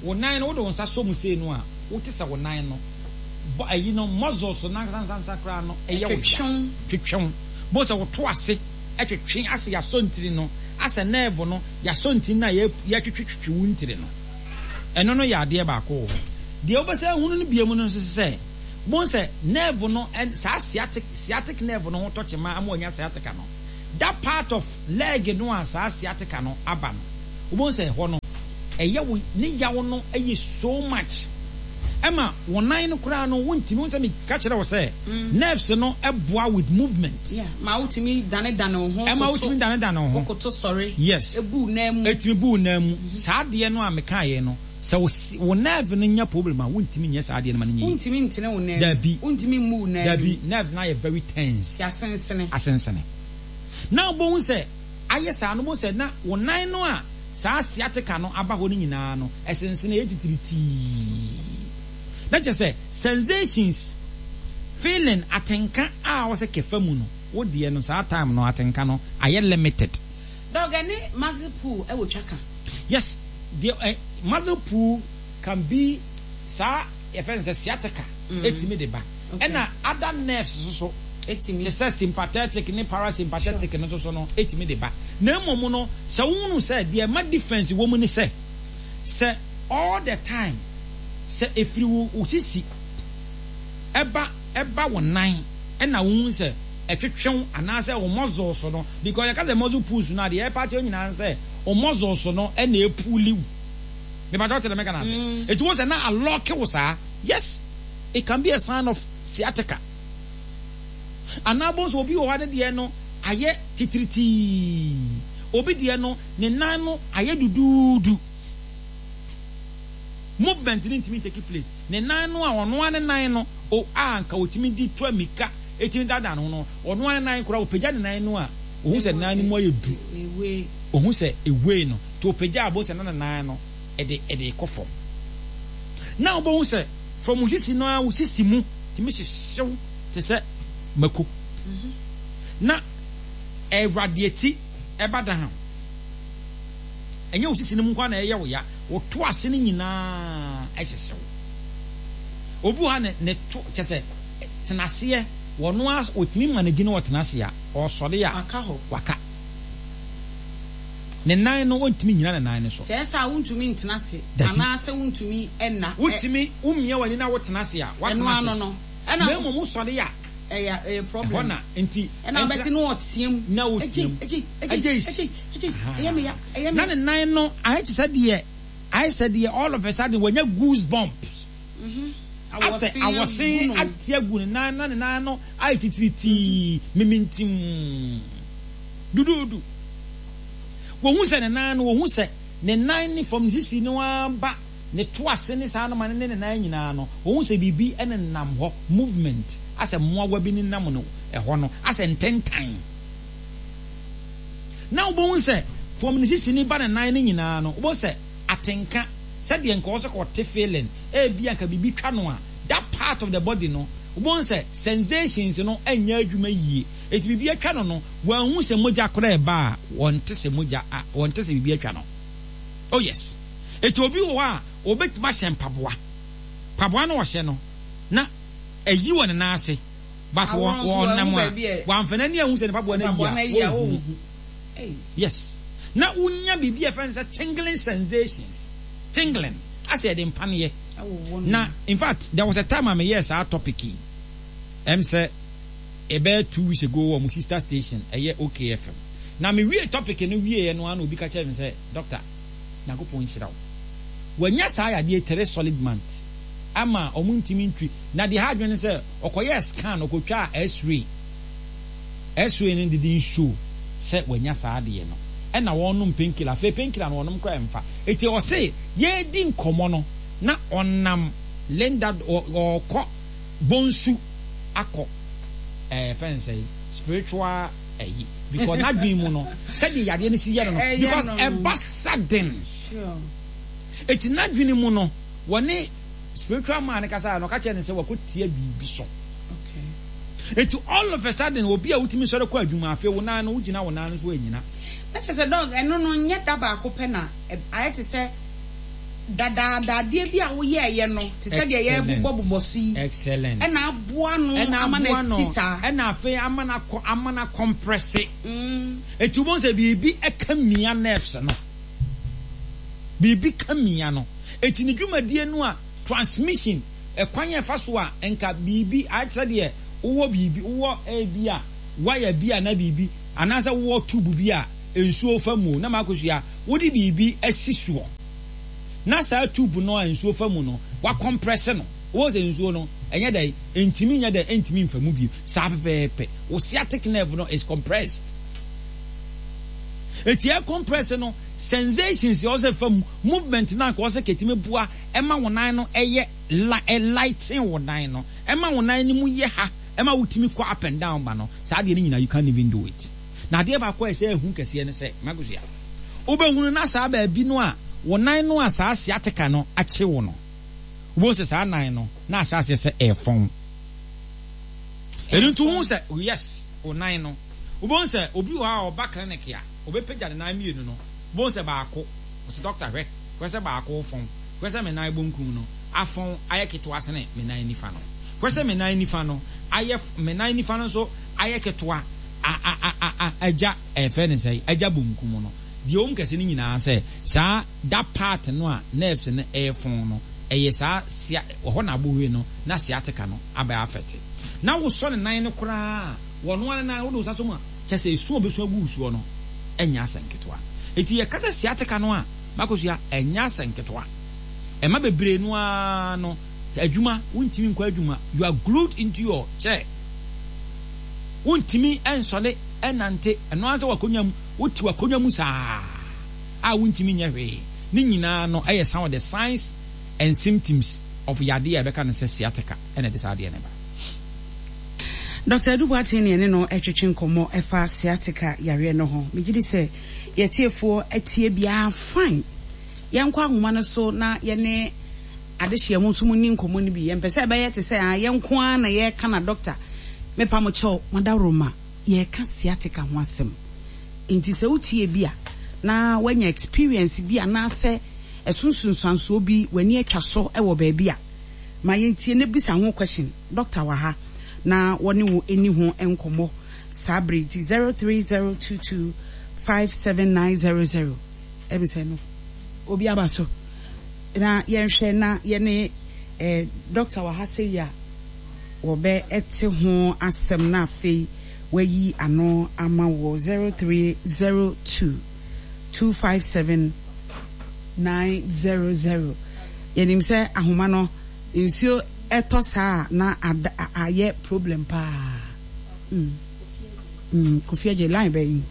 wo nan no wode wo nsa sɔ mu sei no a, wote sɛ wo nan no bɔ ayi no, muscles no nansansansa koraa no ɛyɛ wo ya, twetwew. Bohu sɛ woto ase ɛtwetwe ase, yɛasɔ ntiri no asɛ nerve no yɛasɔ ntiri no a yɛtwetwetwe wo ntiri no. Ɛno no yɛ adeɛ baako wɔ hɔ. Deɛ wobɛsɛ ahunu no bia mu no nso sɛ Wobɛhu sɛ nerve no, saa sciatic, sciatic nerve no ho tɔ kyema ama wanya sciatica no. That part of leg no a saa sciatica no aba no, wobɛhu sɛ ɛhɔ no, ɛyɛ wo, ne yaw no yɛ so much. Ɛma wo nan no koraa no, wontumi, wohu sɛ meka kyerɛ wo sɛ, nerves no boa with movement. Yeah, ma wotumi dane dane wo ho. Ɛma wotumi dane dane wo ho. Wokoto sɔre. Yes. Ebu wo nan mu. Etumi bu wo nan mu. Saa adeɛ no a mekaeɛ no, sɛ wo wo nerve no nya problem a, wontumi nyɛ saa adeɛ no ma no nyɛ yie. Wontumi ntene wo nan mu. Dabi. Wontumi mmu wo nan mu. Dabi, nerve no ayɛ very tensed. Asensene. Asensene. Na wobɛhu sɛ ayɛ saa no, wobɛhu sɛ na wo nan no a saa sciatica no aba hɔ no nyinaa no, ɛsensene, ɛyɛ titiritii. Na kyerɛ sɛ sensations, feeling, atenka a wɔsɛ kɛfa mu no, wo deɛ no saa time no atenka no ayɛ limited. Dog, ɛne muscle pull ɛwɔ twaka? Yes, deɛ eh, muscle pull can be saa yɛfrɛ no sɛ sciatica ɛtumi de ba. Ɛna other nerves nso so Ɛtumi. Te sɛ sympathetic ne parasympathetic no nso so no ɛtumi de ba. Na mmom no, sɛ wohunu sɛ deɛ ɛma difference wɔ mu ne sɛ, sɛ all the time sɛ ɛfiri wo wo sisi ɛba ɛba wo nan ɛna wohu sɛ ɛtwetwe wo anaasɛ wo muscles no, because yɛka sɛ muscle pulls no a, deɛ ɛpa kyerɛ nyinaa ne sɛ wo muscles no ɛna ɛpull wo. Mepa kyɛw, te deɛ meka no ase? Ɛti wo sɛ na alock wo saa, yes, it can be a sign of sciatica. Anaa bɔ nso obi wɔ hɔ a ne deɛ no ayɛ titiritii, obi deɛ no ne nan no ayɛ duduudu, movement no ntumi take place. Ne nan no a ɔno ara ne nan no o a nka otumi di tura mika etumi daadaa ne ho no, ɔno ara ne nan koraa, ɔpagya ne nan no a, ohun sɛ nan no mu ayɛ du, ohun sɛ ewei no nti ɔpagya a, bohu sɛ na ne nan no ɛde ɛde kɔ fam. Na wobɛhu sɛ from wo sisi no ara, wo sisi mu tumi hyehyew te sɛ mako na ɛradiate ɛba down. Ɛnyɛ wo sisi no mu nko na ɛyɛ wo ya, wo to ase no nyinaa ɛhyehyew. Obi wɔ ha ne ne to kyɛ sɛ tena aseɛ, wɔno a otumi manage no, ɔtena ase a, ɔsɔre a waka hɔ. Waka ne nan no, ɔntumi nyina ne nan no so. Kyerɛ sɛ a wontumi ntena ase Dabi. Anaasɛ wontumi ɛna. Wotumi womia w'ani na wotena ase a, ɛno watena ase ano no na ɛna mmom wosɔre a ɛyɛ ɛyɛ ɛhɔ problem. Na nti ɛna wobɛte no ɔteam. Na woteam. Agye, agye, agye. Agye, agye, ɛyɛ me ya, ɛyɛ me. Na ne nan no ayɛ te sɛ deɛ ayɛ sɛ deɛ all of a sudden wanya goose bumps, asɛ awɔsen agu no. Ate agu ne nan na ne nan no ayɛ titiritii, mimintim duduudu. Wɔhu sɛ ne nan no, wɔhu sɛ ne nan ne fam ne sisi no aba ne to ase ne saa noma ne ne nan nyinaa no, wɔhu sɛ biribi nenam hɔ, movement, asɛ mmoawa bi nenam no ɛhɔ no, asɛ ntentan. Na wobɛhu sɛ fam ne sisi ne ba ne nan no nyinaa no, wobɛhu sɛ atenka sɛdeɛ nka wɔ sɛ kɔte feeling ebi anka biribi twa no a, that part of the body no, wobɛhu sɛ sensations no ɛnyɛ adwuma yie. Eti biribi atwa no no, wɔnhu sɛ mogya koraa ɛba a, wɔnte sɛ mogya a, wɔnte sɛ biribi atwa no. Oh yes, eti obi wɔ hɔ a obetumi ahyɛ mpaboa, mpaboa no ɔhyɛ no na ɛyi wɔ ne nan ase, but wɔn awɔ nso wɔn nam wɔahu a baabi a wɔamfa n'ani ahu sɛ ne mpaboa no mpaboa no ayi ayi a a wɔnhu. ɔnhu. Ei. Yes, na wonya biribi a yɛfrɛ no sɛ tingling sensations, tingling asɛ yɛde mpaneɛ ɛwowɔ no. Na in fact, there was a time a meyɛɛ saa topic yi, ɛm sɛ ɛbɛyɛ two weeks ago wɔ mo sister station, ɛyɛ O K F M. Na mewie topic no wieɛ no ara na obi ka kyerɛ me sɛ, "Doctor, Nyankopɔn nhyira wo." Wanya saa yadeɛ three solid month ama ɔmo ntumi ntwi. Na deɛ ha adwene ne sɛ ɔkɔyɛɛ scan, ɔkɔtwaa x-ray, x-ray no didn't show sɛ wanya saa adeɛ no. Ɛna wɔnom painkiller, afei painkiller no wɔnom koraa mfa. Eti ɔse yɛredi nkɔmɔ no na ɔnam Linda ɔkɔ Bonsu akɔ ɛɛ fɛn sɛ spiritual ɛyi, because n'adwene mu no, sɛdeɛ yadeɛ no si yɛ no no ɛyɛ because no. Ɛba sudden. Sure. Eti n'adwene mu no, wɔne spiritual man kasa no, ɔka kyerɛ no sɛ wakɔ tia biribi so. Okay. Eti all of a sudden, obi a wotumi sɔre kɔ adwuma, afei wo nan no, wogyina wo nan no so anyina. Na kyerɛ sɛ, dog, ɛno no nyɛ da baako pɛ na ɛ- ayɛ te sɛ dadaada adeɛ bi a woyɛɛyɛ no, te sɛ deɛ Excellent. yɛbobɔbobɔ so yi Excellent. ɛna aboa no ɛna ama no aboa no asi saa. Ɛna afei ama no akɔ, ama no acompress. Mm. Eti wobɛhu sɛ biribi ɛka mia nerves no, biribi ka mia no. Eti ne dwumadie no a transmission Ɛkwan yɛ fa so a nka biribi ayɛ sɛ deɛ wowɔ biribi, wowɔ ebi a wire bi a na biribi anaasɛ wowɔ tube bi a nsuo fa mu na Makosua wode biribi asi soɔ na saa tube no a nsuo fa mu no wacompress no, wɔn sɛ nsuo no ɛnyɛ dɛ ntumi nyɛ dɛ ntumi nfa mu bio. Saa pɛpɛɛpɛ wo sciatic nerve no is compressed. Eti ɛ compress no, sensations yɛ ɔsɛ fa mu, movement na nka ɔsɛ ketumi boa ɛma wo nan no ɛyɛ lighten, wo nan no ɛma wo nan no mu yɛ ha, ɛma wotumi kɔ up and down ba no, saa adeɛ no nyinaa you can't even do it. Na adeɛ baako a ɛsɛ ehu kɛseɛ no sɛ, Makosua, wobɛhunu na saa baabi no a wo nan no a saa sciatica no akye wo no, wobɛhu sɛ saa nan no na ahyɛ aseɛ sɛ ɛɛfɔn. Ɛno nti wohu sɛ, yes, wo nan no, wobɛhu sɛ obi wɔ hɔ a ɔba clinic a ɔbɛpagya ne nan mmienu no, wobɛhu sɛ baako ɔsɛ, "Doctor, hwɛ, hwɛ sɛ baako fɔn, hwɛ sɛ me nan bonkum no afɔn ayɛ ketewa sene me nan nifa no, hwɛ sɛ me nan nifa no ayɛ, me nan nifa no nso ayɛ ketewa a a a a agya ɛfɛ ne sɛ agya bonkum no." Deɛ wɔm kɛse no nyinaa sɛ saa that part no a nerves no ɛɛfɔn no, ɛyɛ saa sia wɔhɔ na abohue no na sciatica no aba afɛte na wosɔ ne nan no koraa, wɔn ara nan wode wo nsa so mu a, kyɛ sɛ esu a obesu agu soɔ no ɛnyɛ asɛ nketewa. Eti yɛkasa sciatica no a, Makosua, ɛnyɛ asɛ nketewa. Ɛma bebree no ara no adwuma, wontumi nkɔ adwuma, you are glued into your chair, wontumi ɛnsɔle ɛnante. Ɛno ara sɛ wakonnwa mu, wote wakonnwa mu saa a wontumi nyɛ hwee. Ne nyinaa no ɛyɛ some of the signs and symptoms of yadeɛ a ɛbɛka no sɛ sciatica ɛna ɛde saa adeɛ no ba. Doctor Adu Boateng ne ɛne no ɛtwetwe nkɔmmɔ ɛfa sciatica yareɛ no ho. Megye di sɛ yɛtiefoɔ atie biara fine. Yɛnkɔ ahoma no so na yɛne adehyeɛ mu nso mu ni nkɔmmɔ no bi. Yɛmpɛ sɛ ɛbɛyɛ te sɛ ah, yɛnko ara na yɛreka. Na doctor, mepa mo kyɛw, madaworoma, yɛreka sciatica ho asɛm, nti sɛ wotie bi a na woanya experience bi anaasɛ ɛso nsunsuansoɔ bi w'ani atwa so wɔ baabi a, ma yɛntie na bisa ho question. Doctor wɔ ha na wɔne wo ani ho nkɔmmɔ saa bere nti zero three zero two two five seven nine zero zero. Ɛbi sɛ no obi aba so na yɛnhwɛ na yɛne eh, doctor wɔ ha sɛ yi a wɔbɛ ɛte ho asɛm na afei wayi ano ama wɔ zero three zero two two five seven nine zero zero. Yɛnim sɛ ahoma no nsuo ɛtɔ saa na ada ayɛ problem paa. mm. Mm. Kofi Agye, line bɛyi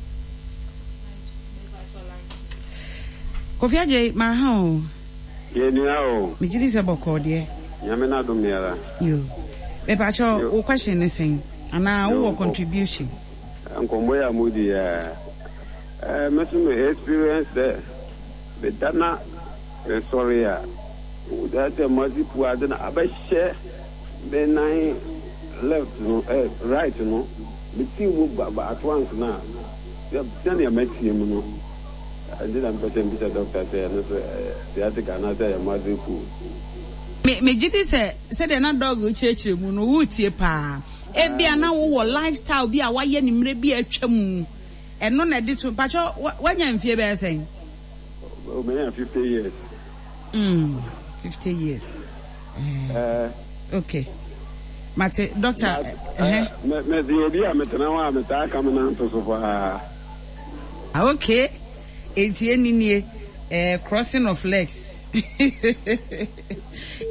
Kofi Agye maa ha o. Yɛnua o. Megye di sɛ bɔkɔɔ deɛ. Nyame no adom yɛra. Yo, mepakyɛ, wo question ne sɛn anaa wowɔ contribution? Nkɔmmɔ yi a modi yɛ, me so me experience sɛ meda na mesɔre a, sɛ mase pu ade na abɛhyɛ me nan left no, eh, right no, metii mu ba at once na sɛnea matie mu no ɛnti na mepɛ sɛ mbisa doctor sɛ ɛno so sciatica anaasɛ ɛyɛ muscle pull. Megye di sɛ sɛdeɛ na doc kyerɛkyerɛ mu no, wotie paa. Ebia na wowɔ lifestyle bi a wayɛ ne mmerɛ bi a atwa mu, ɛno na ɛde so. Pakyɛ, wanya mfie bɛyɛ sɛn? Manya fifty years. mm, fifty years. Uh, okay, mate, doctor. Mede obi a metena hɔ a metaa ka me nanto so paa. Okay, enti ɛni nie, eh, crossing of legs.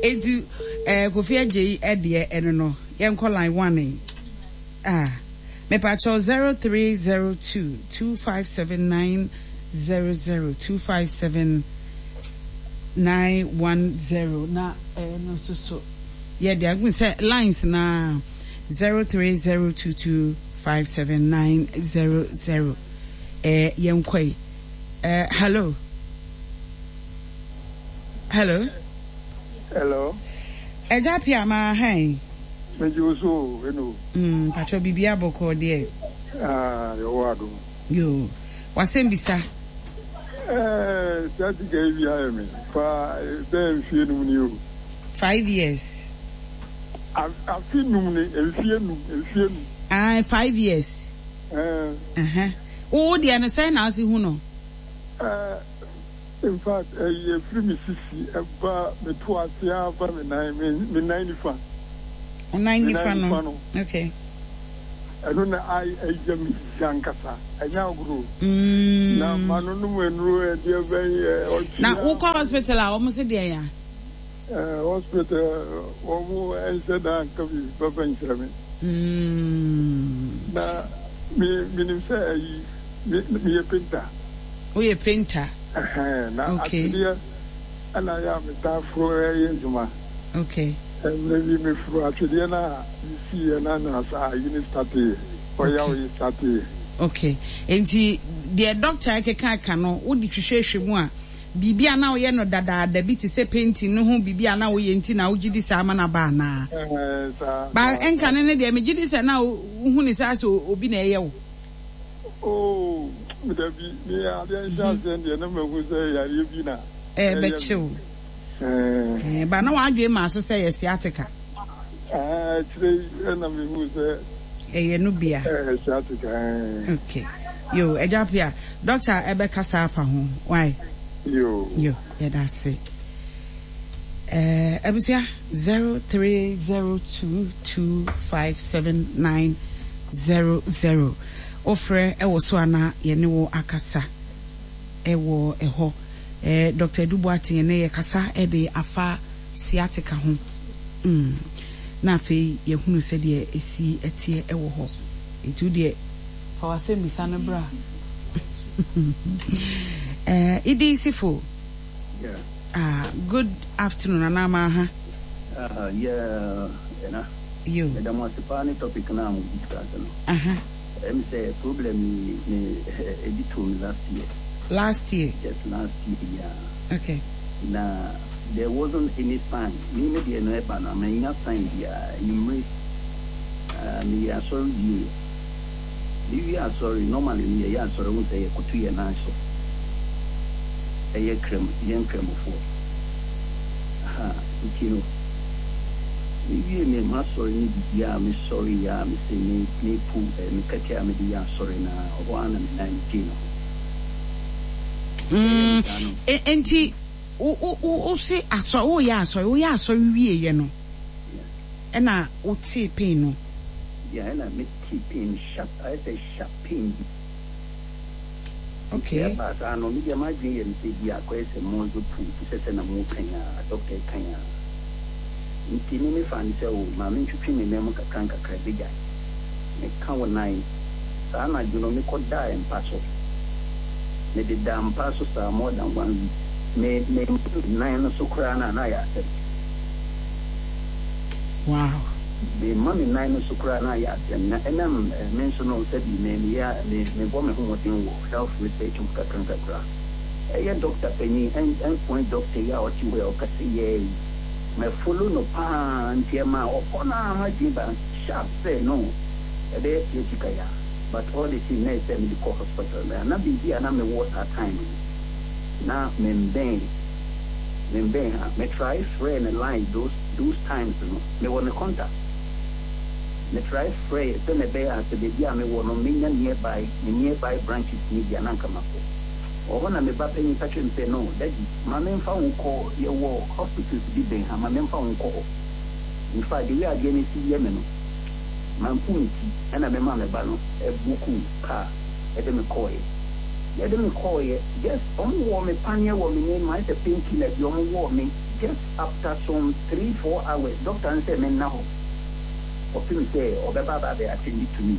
Enti eh, Kofi Agye yi ɛdeɛ ɛno no, yɛnkɔ line one yi. Ah, mepakyɛw, zero three zero two two five seven nine zero zero two five seven nine one zero na ɛno nso so yɛde agu sɛ lines na zero three zero two two five seven nine zero zero. Ɛɛ yɛnkɔ yi. Ɛɛ hello, hello. Hello. Ɛgya pia maa hɛn. Megye wo so o, eno. Mm, patro, biribi abɔkɔ deɛ? Ah, yɛwɔ adom. Yo, wasɛm bisa. Ɛɛ, sciatica yi bi ayɛ me fa bɛyɛ mfie num ni o. Five years. Afe num ni, mfie num, mfie num. Ah, five years. Ɛɛ. Uh-huh. Wo deɛ no sɛn na ase hu no? Ɛɛ, In fact, ɛyɛ firi me sisi ɛba me to ase aba me nan me me nan nifa. Nan Me nifa nan nifa no. No. Okay. Ɛno na ay ɛyɛ me ya nkasa, ɛnyɛ agorɔ. Na Mm. ma no nom nnuro ɛdeɛ bɛn ɛ ɔtwe Na a wokɔ hospital a, wɔn se deɛ ya? Ɛɛ hospital, wɔn nhyɛ da nka biribi papa nkyerɛ me. Mm. Na me menim sɛ ɛyi me meyɛ painter. Woyɛ painter. Ɛhɛn, na Okay. atwedeɛ ɛna yɛ a metaa foro ɛyɛ adwuma. Okay. Mmerɛ bi meforo atwedeɛ no a mesiiɛ na na saa ayi ne starteeɛ, ɔyaw Okay. yi starteeɛ. Okay. Nti deɛ doctor ɛkeka ka no, wode hwehwɛhwɛ mu a, biribi a na woyɛ no dadaada bi te sɛ painting no ho biribi a na woyɛ nti na wogye di saa ama no aba anaa? Ɛhɛn, saa Ba saa ɛnka saa. ne ne deɛ, megye di sɛ na wohu ne sɛ asɛ obi na ɛyɛ wo. Oh, dabi, me adeɛ nhyɛ aseɛ deɛ na mahu sɛ yareɛ bi na ɛyɛ ɛbɛkye me. wo. Ɛɛ Ɛɛ, ba na w'adwene maa so sɛ yɛ sciatica. Ɛɛ akyire yi ɛna mehu sɛ Ɛyɛ no bia. ɛɛ sciatica ɛɛ. Okay. Yo, Agya Pia, doctor ɛbɛkasa afa ho. Why? Yo. Yo, yɛda ase. Eh, abusua, zero three zero two two five seven nine zero zero. Wofrɛ ɛwɔ so ana yɛne wo akasa ɛwɔ ɛhɔ. Eh, Doctor Edu Boateng ne yɛkasa ɛde afa sciatica ho. Mm. Na afei yɛhunu sɛdeɛ esi ɛteɛ ɛwɔ hɔ. Nti wo deɛ fa w'asɛm bisa no bra. Eh, Idi Sifo. Yeah. Ah, good afternoon, Anama ha. Uh, yeah, ɛna. Yo. Ɛda mo ase paa ne topic na mo discuss no. Aha. Ɛm sɛ problem yi me ebi to me last year. Last year. Just last year, yeah. Okay. Na there wasn't any sign. Me me deɛ no ɛba no, manya sign biara. Anwummere, uh, meyɛ asɔre wie. Mewie asɔre, normally no yɛyɛ asɔre ho sɛ yɛkoto yɛn nan so. Ɛyɛ krem, yɛn kramofoɔ. Ha, nti no, mewie me m'asɔre ne biribiara, mesɔre yɛ a mese me mepu eh, me kɛtɛ a mede yɛ asɔre na ɔhɔ ara na me nan gyee ne ho. Ɛyɛ me Mm. saa no. E- Enti wo wo wo wo se asɔre, woyɛ asɔre, woyɛ asɔre wie yɛ no. Yeah. Ɛna wotee pain no. Yeah, ɛna mete pain sharp, ayɛ sɛ sharp pain bi. Nti Okay. ɛbaa saa no, medeɛ m'adwene yɛ me sɛ bi akɔyɛ sɛ muscle pull te sɛ sɛ na mo kan a doctor kan a. Nti me mefa ne sɛ o ma mentwitwi me nan mu kakra nkakra bɛgyae. Meka wo nan. Saa anadwo no mekɔdaa mpa so. Mede da mpa so saa more than one week. Me me nan no so koraa na na ayɛ asɛm. Wow. Me ma me nan no so koraa na ayɛ asɛm, na ɛnam eh, me nso no sɛbi me meyɛ me mebɔ me ho mmɔden wɔ health research mu kakra nkakra. Ɛyɛ doctor panyin end endpoint doctor yi a ɔte hɔ yi a ɔkasa yɛ yi, mɛ follow no paa, nti ɛma ɔkɔ no a m'adwene ba sharp sɛ no ɛbɛyɛ sciatica ya, but all the same na ɛsɛ mede kɔ hospital na na biribi a na mewɔ saa time no na membɛn membɛn ha. Me try frɛ ne line those those times no, mewɔ ne contact. Me try frɛ sɛ na ɛbɛyɛ a sɛ baabi a mewɔ no menya nearby ne nearby branches ne bi a na nka makɔ ɔhɔ, na me ba panyin ka kyerɛ me sɛ, "No, daddy, ma memfa wo nkɔ, yɛwɔ hospitals bi bɛn ha, ma memfa wo nkɔ hɔ." In fact, the way adeɛ no si yɛ me no, mampu me ti ɛna mema me ba no ɛbook car ɛde me kɔɔeɛ. Yɛde me kɔɔeɛ, just ɔmo wɔ me paneɛ wɔ me name, ayɛ sɛ painkiller bi ɔmo wɔ me. Just after some three four hours, doctor no sɛ menna hɔ ɔpem sɛ ɔbɛba aba abɛ attend to me.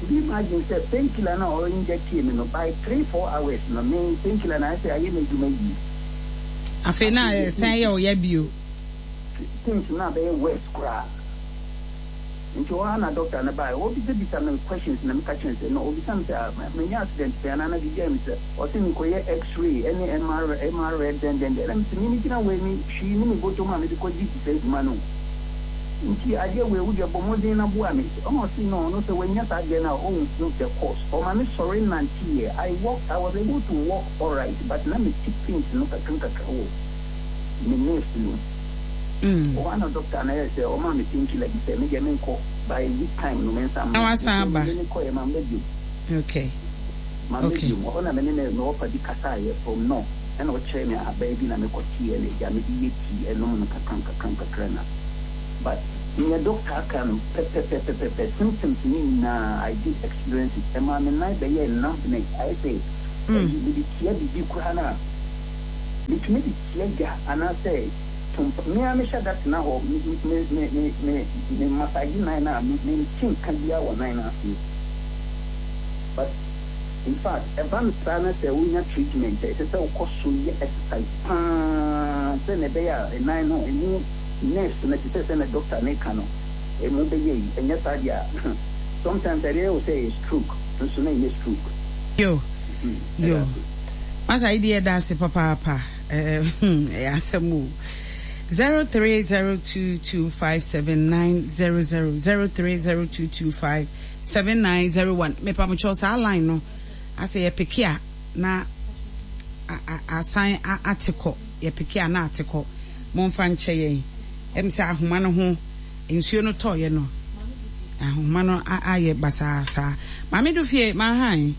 Could you imagine sɛ painkiller no a ɔinject me no, by three four hours no, me painkiller no ayɛ sɛ ayɛ n'adwuma yie. Afei na ɛsan yɛ ɔyɛ bio. Things na bɛyɛ worse koraa, nti hɔ ara na doctor no baeɛ, ɔbisabisa me questions na meka kyerɛ no sɛ no, ɔbisa me sɛ, ah, manya accident pɛn anaa na biribi ayɛ me, sɛ ɔse mekɔyɛ x-ray ɛne M R M R dɛn dɛn dɛn, ɛna mesɛ me megyina wei me hwee ne me bɔtɔ mu a mede kɔgye sɛ adwuma no, nti adeɛ wei wodeɛ bɔ mmɔden na boa me. Ɔna ɔse no, ɔno sɛ wanya saa adeɛ no a ɔnhu the cause. Ɔma me sɔre nanteɛ. I walk, I was able to walk alright, but na mete pains no kakra nkakra wɔ me nerves no. Mm. Ɔhɔ ana doctor na yɛ sɛ ɔma me painkiller bi sɛ medeɛ menkɔ, by week time no mensa Na wasan aba. Me kɔɛ ma mbɛ bio. Okay. Mamma Okay. biom. Ɔhɔ na me ne me me wɔfa bi kasaeɛ from no, ɛna ɔkyerɛɛ me ahaban bi na mekɔteeɛ na agya mede yɛ tea ɛnom no kakra nkakra nkakra na but neɛ doctor aka no pɛpɛpɛpɛpɛ symptoms ne nyinaa I did experience it. Ɛmaa me nan bɛyɛɛ numbness ayɛ sɛ ɛyi mede tia biribi koraa no a metumi de tia gya anaasɛ tumpa me ara mehyɛ da tena hɔ me me me me me me massage nan no a me mente nka biara wɔ nan no aseɛ but in fact ɛba no saa na sɛ wonya treatment a ɛsɛ sɛ wokɔ so yɛ exercise paa sɛ na ɛbɛyɛ a nan no emu nerves no te sɛ sɛ na doctor ne ka no emu bɛyɛ yi ɛnyɛ saa deɛ a sometimes ɛdeɛ yɛ wo sɛ ɛyɛ stroke nso na ɛnyɛ stroke. Yo. Mm, Yo. ɛda ase. Masa yi deɛ ɛda ase papaapa. Ɛɛ hmm, ɛyɛ asɛm o. Zero three zero two two five seven nine zero zero zero three zero two two five seven nine zero one. Mepamokyɛw saa line no asɛ yɛ pick a na a- a- asan a- ate kɔ yɛ pick a na ate kɔ momfa nkyɛ yɛn ɛm sɛ ahoma no ho nsuo no tɔɔyɛ no ahoma no a- ayɛ basaa saa maame do fie maahan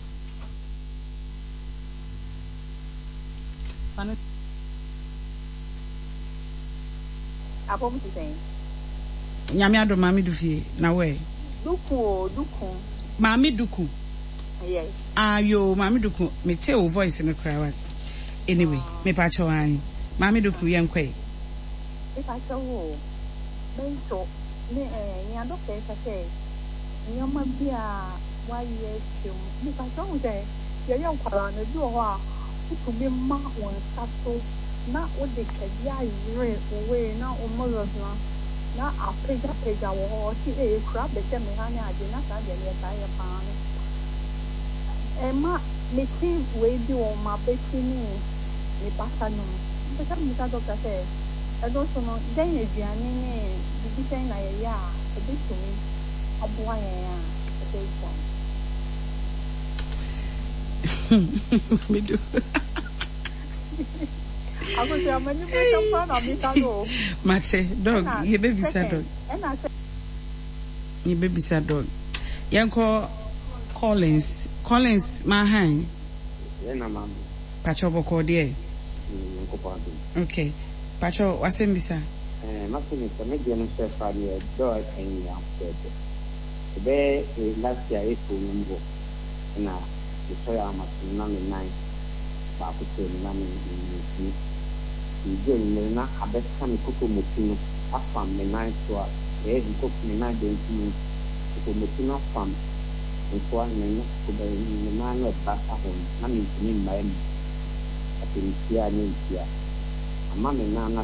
Apɔm te sɛn? nyame adom maame do fie na wɛ Duku o, duku. maame duku Yes. ayo maame duku mete wo voice no koraa wa anyway mepa kyɛw an maame duku yɛnkɔe Mepa wo o. Me nso, me eh, nea dɔkta yi ka sɛ nneɛma bi a wayɛ atwam. Mepa kyɛw hu sɛ yɛyɛ nkwadaa no, ebi wɔ hɔ a wotumi ma wo nsa so na wode twɛdeɛ ayere wo wei na wo muscles no na apagyapagya wɔ hɔ ɔse ee ekura bɛhyɛ me ha ne ade na saa deɛ no yɛtaa yɛ paa no. Ɛma mete wei bi wɔ m'abati ne me basa no mu. Mpɛ sɛ mebisa dɔkta sɛ ɛno nso no dɛn aduane ne biribi sɛn na yɛyɛ a ɛbɛtumi aboa yɛn a ɛbɛgyae. maame du Akosua m'ani bere paa na meka no o. mate doc Ɛna yɛbɛbisa second doc ɛna sɛ yɛbɛbisa doc yɛnkɔ collins collins maahan Yɛn na maame pakyɛw bɔkɔɔ deɛ Nyankopɔn adom. okay pakyɛw wasɛm bisa Ɛɛ mase ne sɛ me deɛ no nso ɛfa deɛ dɔɔ ɛka yi nyinaa pɛpɛɛpɛ. Ɛbɛyɛ eh, last year April no mu hɔ ɛna mesɔre ama so na me nan baako tɛ mu na me me mentumi. Nti anwummerɛ na abɛka me kokomoti no afam me nan so a ɛyɛ me koko me nan benkum no kokomoti no afam nkoa me nan me nan no ɛba ka ho no na mentumi mmae mu. Afei metia a ne ntia. Ama me nan no